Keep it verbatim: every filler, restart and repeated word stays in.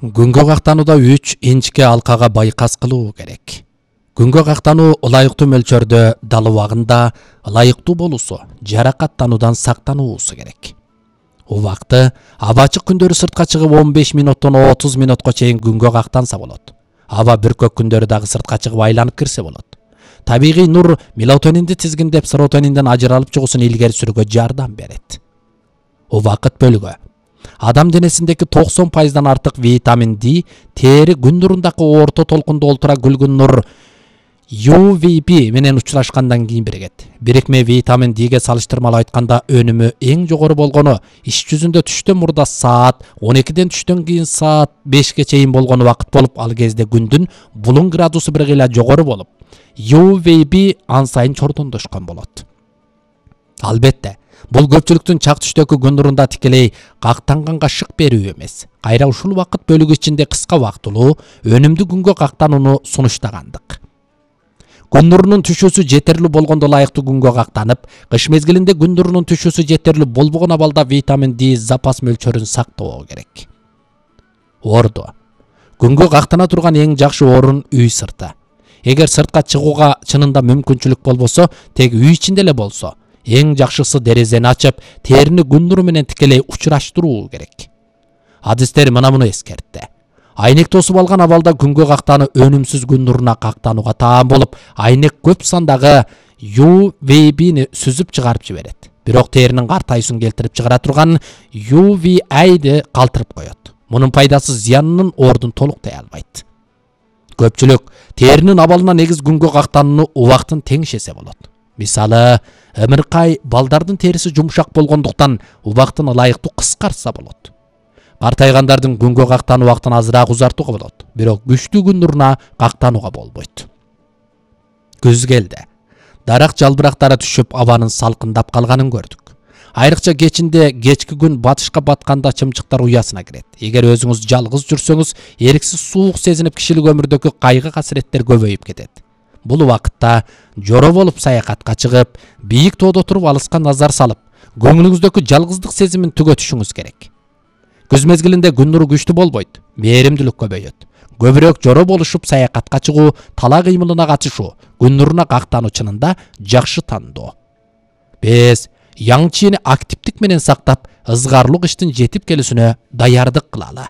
Күнгө кактанууда үч инчке алкага байкас кылуу керек. Күнгө кактануу ылайыктуу мөлчөрдө дал убагында ылайыктуу болуусу, жаракаттануудан сактануусу керек. Убакты аба ачык күндөрү сыртка чыгып он беш минуттан отуз минутка чейин күнгө кактанса болот. Аба бүркөк күндөрү дагы сыртка чыгып айланып кирсе болот. Табигый нур мелатонинди тизгиндеп серотонинден ажыралып чыгуусун илгери сүрүүгө жардам берет. Убакыт бөлүгү. Адам денесиндеги токсон пайыздан артык витамин D тери күн нурундаky орто толкунда олтура күлгүн нур ю ви би менен учурашкандан кийин биригет. Бирикме витамин D'ге салыштырмалуу айтканда өнүмү эң жогору болгону иш жүзүндө түштөн мурда саат он экиден түштөн кийин саат бешке чейин болгон убакыт болуп, ал кезде күндүн булуң градусу бир кыйла жогору болуп, ю ви би ан сайын чордондошкон болот. Албетте, бул көпчүлүктүн чак түштөгү күн нурунда тикелей кактанганга шык берүү эмес. Кайра ушул убакыт бөлүгү ичинде кыска убактылуу, өнүмдүү күнгө кактанууну сунуштагандык. Күн нурунун түшүүсү жетерлүү болгондо ылайыктуу күнгө кактанып, кыш мезгилинде күн нурунун түшүүсү жетерлүү болбогон абалда витамин D запас мөлчөрүн сактоо керек. Ордо. Күнгө кактана турган эң жакшы орун үй сырты. Эгер сыртка чыгууга чынында мүмкүнчүлүк болбосо, тек үй ичинде эле болсо, эң жакшысы дерезени ачып, терини күн нуру менен тикелей учураштыруу керек. Адистер мына муну эскертти. Айнек тосуп алган абалда күнгө кактануу өнүмсүз күн нуруна кактанууга таан болуп, айнек көп сандагы ю ви би'ни сүзүп чыгарып жиберет. Бирок теринин картайышын келтирип чыгара турган ю ви A'ды калтырып коет. Мунун пайдасы зыянынын ордун толуктай албайт. Көпчүлүк теринин абалына негиз күнгө кактанууну убактын теңшесе болот. Мисалы, ымыркай балдардын териси жумшак болгондуктан убактын ылайыктуу кыскартса болот. Картайгандардын күнгө кактануу убактын азыраак узартууга болот, бирок күчтүү күн нуруна кактанууга болбойт. Күз келди. Дарак жалбырактары түшүп, абанын салкындап калганын көрдүк. Айрыкча кечинде кечки күн батышка батканда чымчыктар уясына кирет. Эгер өзүңүз жалгыз жүрсөңүз, эриксиз суук сезинип кишилик өмүрдөгү кайгы касиреттер көбөйүп кетет. Бул убакытта жоро болуп саякатка чыгып, бийик тоодо туруп алыска назар салып, көңүлүңүздөгү жалгыздык сезимин түгөтүшүңүз керек. Күз мезгилинде күн нуру күчтүү болбойт, мээримдүүлүк көбөйөт. Көбүрөөк жоро болушуп, саякатка чыгуу, тала кыймылына катышуу, күн нуруна кактануу чынында жакшы тандоо. Биз яң чийини активдик менен сактап, ызгарлуу кыштын жетип келүүсүнө даярдык кылалы.